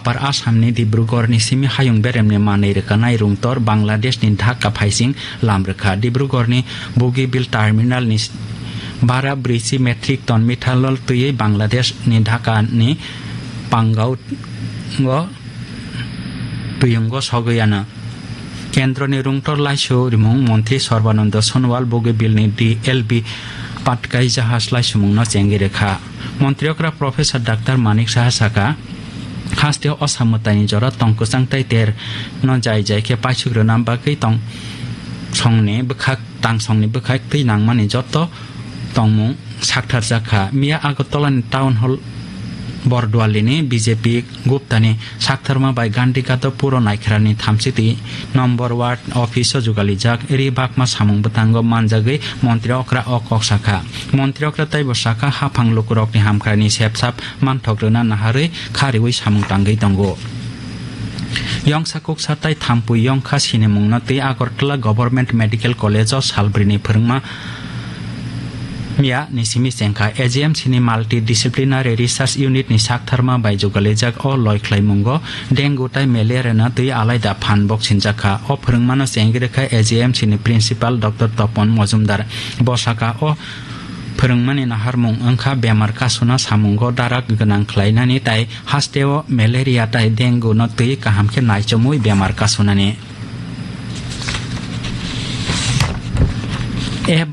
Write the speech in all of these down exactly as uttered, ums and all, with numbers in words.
Upper Assam ni Dibrugarh ni simi hayung berem ni manwi rwkanai rungtor Bangladesh ni Dhaka phaising lam rwkha. Dibrugarh ni Bogibill terminal ni bara brisi metric ton methanol twiwi Bangladesh ni Dhaka ni Pangao o twiyungo sogwi ano. Kendroni rungtor laisu rimung montri Sarbananda Sonowal Bogibill ni D L B patkai jahaj laisumungno chengwi rwkha. Montri okra Professor Doctor Manik Saha saka, hasteo osa mwtaini jora tong kwchang tai ter no jai jai khe paisuk rwna bagwi tong songni bwkhak, tang songni bwkhak twi nangmani joto tongmung saktharjak kha. Miya Agartala ni Town Hall Borduali ni B J P Gupta ni saktharma bai Gandhi Gado Puro Naikharani thamsiti number ward office o jugalijak ri bakma samung bwtango manjagwi montri okra o kok sakha. Montri okra taibo sakha, haphang lukurokni hamkrai ni sepsap manthok rwna naharwi kha riwi samung tangwi tongo. Yongsa kuksa tai thampui yongkha sinimungno twi Agartala Government Medical College o salbrini phwrwngma miya ni simi chengkha. A G M C ni Multidisciplinary Research Unit ni saktharma bai jugalijak o loi khlaimungo dengue tai malaria no twi alaida phan bok sinjakha. O phwrwngmano chengwi rwkha A G M C ni Principal Doctor Topon Mojumdar. Bo sakha, o phwrwngmani naharmung wngkha bemar kasuna samungo darak gwnang khlainani tai hasteo malaria tai dengue no twi kaham khe naichomwi bemar kasunani. App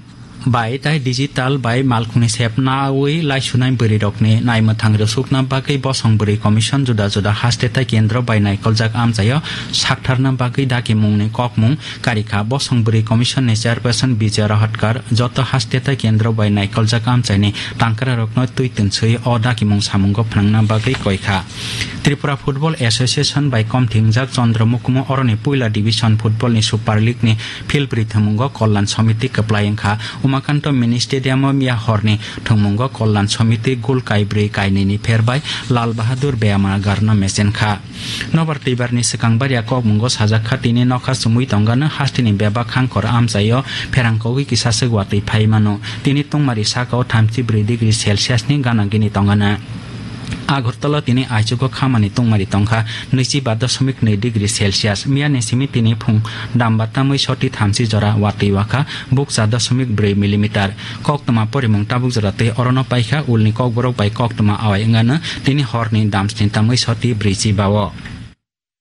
bai tai digital bai malkhungni sepnawi laisunai bwrwirokni naimwthang rwsukna bagwi bosong bwrwi commission juda juda haste tai kendro bai naikoljak amchaio saktharna bagwi dakimungni kokmung karikha. Bosong bwrwi commission ni chairperson Vijay Rahatkar joto haste tai kendro bai naikoljak amchaini tangkrarokno twi twinswi o dakimung samungo phnangna bagwi koikha. Tripura Football Association bai komthingjak Chandra Mukumu oroni puila division football ni Super League ni field bwrwi thwngmungo Kollan Samiti kwplai wngkha. Umakanto Mini Stadium o miya horni thwngmungo Kollan Samiti gol kaibrwi kainwini pher bai Lal Bahadur Beyamagar no mechenkha. Nobar twibar ni swkang baria kokmungo sajak kha, tini nokha chumui tongano hasteni bebak khangkhor amchaio pherang kogwi kisa swk watwi phai mano. Tini tungmari saka o thamchi bwrwi degree Celsius ni gana gini tongana. Agartala tini aichugo khamani tungmari tongkha nwichi ba dosomik nwi degree Celsius. Miya ni simi tini phung damba tamwi soti thamchi jora watwi wakha bukcha dosomik bwrwi millimeter. Koktwma porimung tabuk jora tei orono paikha ulni kokborok bai koktwma awai wngano tini horni damsni tamwi soti bwrwi chiba o.